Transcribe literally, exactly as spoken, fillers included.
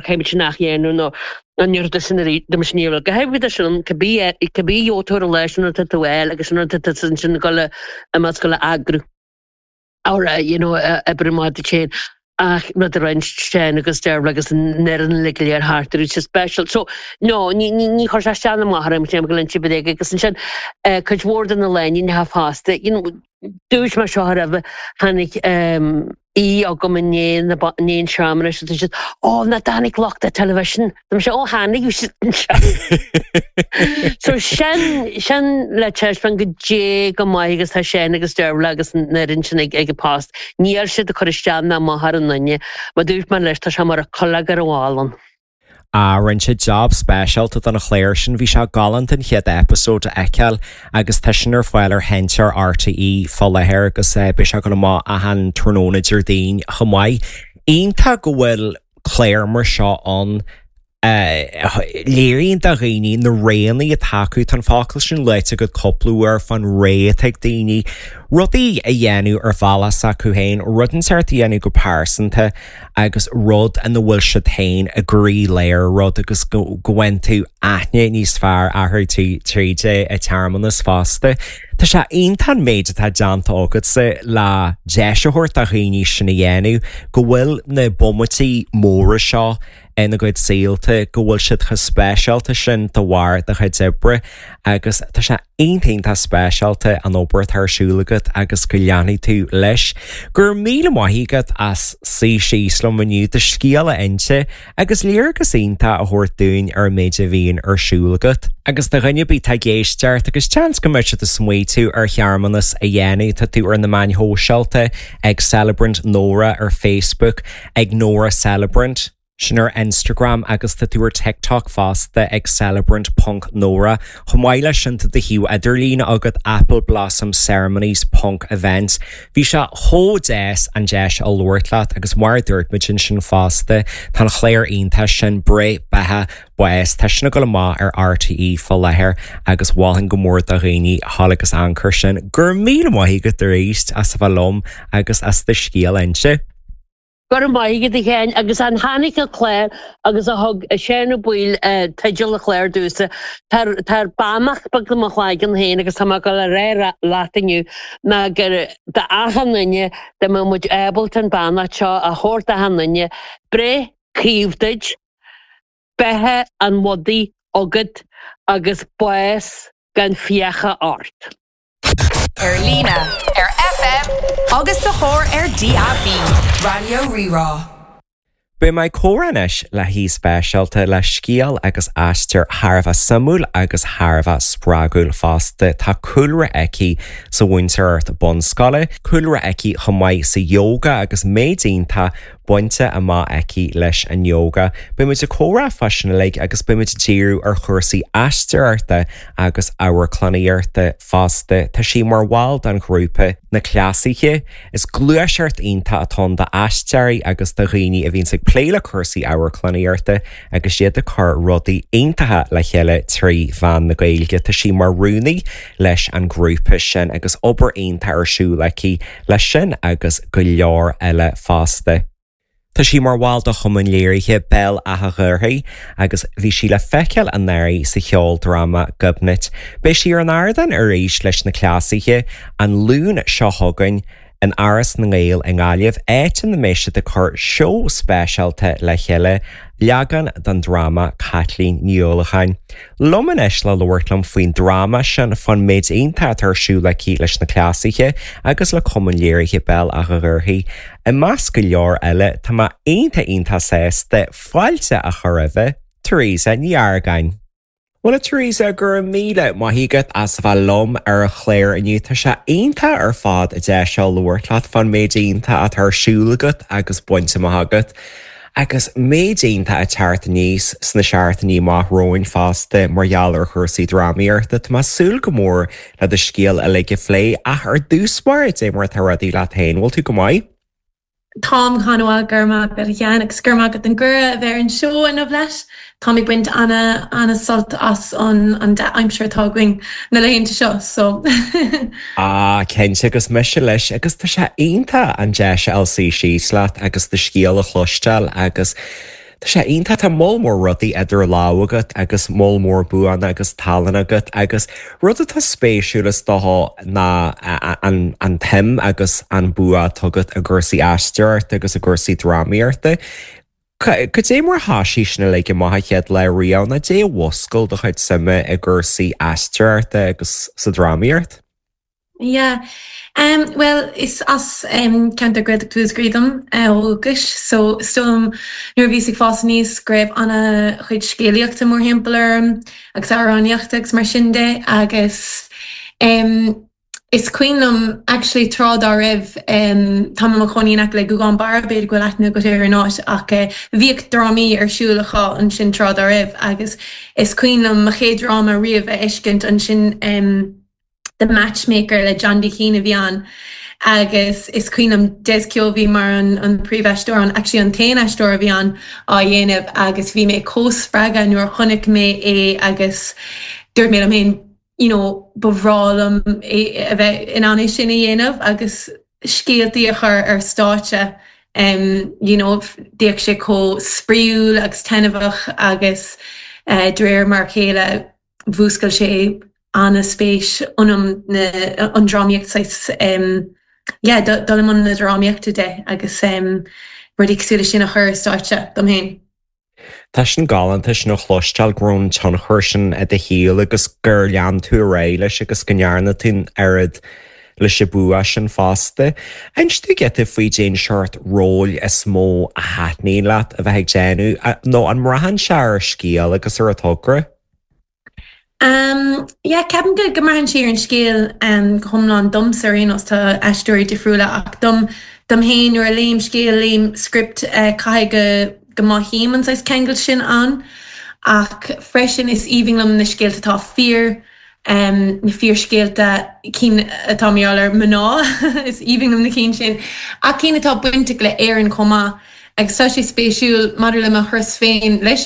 Caithfimid sin a dhéanamh nó an rud sin de sin go háirithe sin cibé cibé jótar leis an tú eil agus an sin sin go a go eagrú. Á you know oibre má chéin ach rud a roinnt sin agus deir agus nean le léir thart sé special. So no ní ní chuir sé isteach amach orm sem go linn si agus ansin cuid mhór de na leanaí ha fásta. Dúirt mar seo raibh tháinig í agam in néon seamra siad ó na tháinig lucht television Tá sé ó tháinig So sin sin le teispeáint go dé go maith agus tá sin agus Dearbhla agus na sin ag ag post. Níl siad a chur isteach ná amach ar an duine, ma dúirt mar leis tá sé mar a cholg ar bhálan. A rinne sé job speisialta don chléir sin bhí sé galánta an chéad episode a fheiceáil agus tá sin ar fáil ar sheinnteoir RTÉ fá láthair agus beidh sé go maith achan tráthnóna Déardaoin chomh maith. Iontach go bhfuil cléir mar seo an léiríonn do dhaoine na roghanna atá acu tá an focal sin luaite agat cúpla uair fán rogha atá ag daoine, rudaí a dhéanamh ar bhealach s'acu féin, rud inteacht a dhéanamh go pearsanta agus rud ina bhfuil siad féin i gcroílár rud agus go bhfaigheann tú aithne níos fearr orthu tríd an tsearmanas fosta. Tá sé iontach an méid atá déanta agatsa le deis a thabhairt do dhaoine sin a dhéanamh go bhfuil na bomaití móra seo ina gcuid saolta go bhfuil siad chomh speisialta sin de bharr do chuid oibre agus tá sé iontach speisialta an obair atá ar siúl agat agus go leanfaidh tú leis. Gur míle maith agat as suí síos liom inniu do scéal a inse agus léargas iontach a thabhairt dúinn ar an méid a bhíonn ar siúl agat. Agus do dhuine ar bith atá ag éisteacht agus seans go mbeidh siad ag smaoitiú ar shearmanas a dhéanamh tá tú ar na meáin shóisialta ag Celebrant Nora ar Facebook ag Nora Celebrant. Sin ar Instagram agus tá tú ar TikTok fosta ag celebrant ponc Nora. Chomh maith leis sin tá do shuíomh idirlín agat Apple Blossom Ceremonies ponc events. Bhí sé chomh deas an deis a labhairt leat agus mar dúirt muid ansin fosta tá an chléir iontach sin Breith Beatha Bás tá sin ag dul amach ar RTÉ fá láthair agus mholfainn go mór do dhaoine thall agus anchur sin gur míle maith agat arís as a bheith liom agus as do scéal a inse. Gur maith a chéin agus an tháinig a chléir agus a thug séna buil teideal a chléir dúsa Tar beannacht beag mo chloigeann féin agus tá go le ré leat inniu ná gur d'achan duine de mbeadh muid ábalta an beannacht seo a thabhairt d'achan duine breith chaomh duit, beatha an mhadaidh agat agus bás gan fiacha ort. Ar líne, ar FM agus sa charr ar DAB. Raidió Rí-Rá. Beidh mé ag comhrá anois le haoi speisialta le scéal agus aistear thar a bheith suimiúil agus thar a bheith spreagúil fosta. Tá cúlra aici sa mhúinteoireacht bunscoile, cúlra aici chomh maith sa yoga agus méid iontach bainte amach aici leis an yoga. Beidh muid ag comhrá fá sin uilig agus beidh muid ag díriú ar chúrsaí aisteoireachta agus amharclannaíochta fosta. Tá sí mar bhall den ghrúpa na Cleasaithe. Is gluaiseacht iontach atá ann d'aisteoirí agus do dhaoine a bhíonn ag plé le cúrsaí amharclannaíochta agus iad ag cur rudaí iontacha le chéile trí mheán na Gaeilge. Tá sí mar rúnaí leis an grúpa sin agus obair iontach ar siúl aici leis sin agus go leor eile fosta. Tá sí mar bhall de chumann léirithe Béal Átha Ghaorthaidh agus bhí sí le feiceáil anuraidh sa cheoldráma Gobnait. Beidh sí ar an ardán arís leis na Cleasaithe an Luan seo chugainn in Áras na nGael i nGaillimh, áit ina mbeidh siad ag cur seó speisialta le chéile, leagan den dráma Caitlín Ní Uallacháin. Liom anois le labhairt liom faoin dráma sin fán méid iontach atá ar siúl aici leis na Cleasaithe agus le Cumann Léirithe Béal Átha Ghaorthaidh. I measc go leor eile tá mé iontach iontach sásta fáilte a chur roimh Teresa Ní Argáin. Bhuel a Teresa go raibh míle maith agat as a bheith liom ar an chlár inniu tá sé iontach ar fad an deis seo labhairt leat fán méid iontach atá ar siúl agat agus bainte amach agat. Agus méid iontach ag teacht aníos sna seachtainí amach romhainn fosta mar gheall ar chúrsaí drámaíochta, Tá mé ag súil go mór le do scéal uilig a phlé ach ar dtús báire cad é mar atá rudaí leat féin, bhfuil tú go maith? Táim an-mhaith go raibh maith agat a Sheáin agus go raibh maith agat an cuireadh a bheith ar an seó inniu leis. Táim ag baint ana ana sult as an an dea-aimsir atá againn na laethanta seo so. Ah, cinnte agus mise leis agus tá sé iontach an deis a fháil suí síos leat agus do scéal a chloisteáil agus Tá sé iontach tá moll mór rudaí idir lámha agat agus moll mór buanna agus tallann agat agus rud atá spéisiúil is dócha ná an an tsuim agus an bua atá agat i gcúrsaí aisteoireachta agus i gcúrsaí drámaíochta. Cad é mar thosaigh sin uilig amach an chéad lá riamh nó cad é a mhúscail do chuid suime i gcúrsaí aisteoireachta agus sa drámaíocht? Yeah. Um, well, is as um, ceantar Gaeltachta Mhúscraí dom uh, ó dhúchas, so is dóigh liom nuair a bhíos ag fás aníos go raibh an-chuid scéalaíochta mórthimpeall orm agus amhránaíochta agus mar sin de agus um, is cuimhin liom actually tráth dá raibh um, tá mé i mo chónaí in aice le Gougane Barra b'fhéidir go bhfuil aithne agat ar an áit ach uh, bhíodh drámaí ar siúl acu ansin tráth dá raibh agus is cuimhin liom mo chéad dráma riamh a fheiscint ansin um, The Matchmaker le John D. Keane a bhí ann agus is cuimhin liom Des Keogh bhí mar an, an príomhaisteoir an actually an t-aon aisteoir a bhí ann á dhéanamh agus bhí mé chomh spreagtha nuair a chonaic mé é agus dúirt mé liom féin you know, ba bhreá liom é a bheith in ann é sin a dhéanamh agus scéaltaí a chur ar stáitse. Um, you know, bhíodh sé chomh spraíúil agus taitneamhach agus uh, de réir mar a chéile mhúscail sé an-spéis ionam na an drámaíocht um, yeah, dul i mbun na drámaíochta de agus um, rudaí cosúil sin a chur ar stáitse dom féin. Tá sin galánta sin a chloisteáil go raibh an tionchar sin i do shaol agus gur lean tú ar aghaidh leis agus go ndearna tú an oiread leis an bua sin fosta. Inis dom giota faoi cén seort ról is mó a thaitníonn leat a bheith ag déanamh nó an mbraitheann sé ar scéal agus ar an togra? Um, yeah, ceapaim go go mbraitheann sé ar an scéal um, go hiomlán domsa ar aon nós tá aisteoirí difriúla ach dom dom féin nuair a léim scéal léim script uh, caithfidh go go mothaím an saghas ceangal sin ann ach freisin is aoibhinn liom na scéalta atá fíor um, na fíorscéalta cinn atá mar gheall ar mná is aoibhinn liom na cinn sin ach cinn atá bainteach le Éirinn chomh maith agus tá sé spéisiúil maidir le mo thuras féin leis an